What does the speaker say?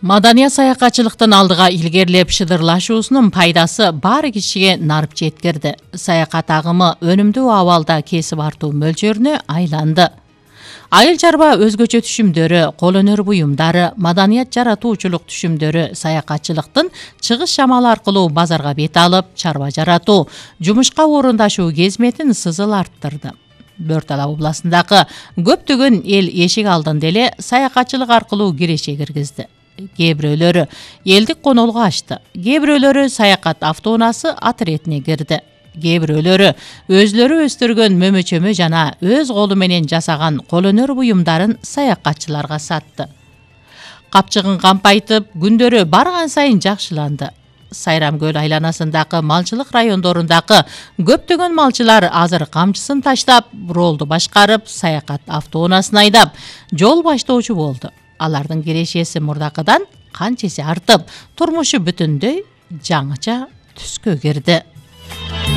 Маданият саякатчылыктын алдыга илгерлеп шыдырлашуусунун пайдасы баары кишиге нарып жеткирди. Саякат агымы өнүмдүү абалда кесип артуу мөлчөрүнө айланды. Айыл чарба өзгөчө түшүмдөрү, кол өнөр буюмдары, маданият жаратуучулук түшүмдөрү саякатчылыктын чыгыш шамалы аркылуу базарга бет алып, чарба жаратуу, жумушка орундашуу кезметин сызыл арттырды. Бөртал областындагы көптөгөн эл эшик алдында эле саякатчылык аркылуу киреше киргизди. Кээ бирөөлөрү элдик конолго ачты, кээ бирөөлөрү саякат автоунаасы отрядине кирди. Кээ бирөөлөрү өзлөрү өстүргөн мөмөчөмө жана өз колу менен жасаган кол өнөр буюмдарын саякатчыларга сатты. Капчыгын кампайтып, күндөрү барган сайын жакшыланды. Сайрам көл айланасындагы малчылык райондорундагы көптөгөн малчылар азыр камчысын таштап, ролду башкарып, саякат автоунаасын айдап, жол баштоочу болду. Алардын кирешеси мурдакыдан канчеси артып, турмушу бүтүндөй жаңыча түскө кирди.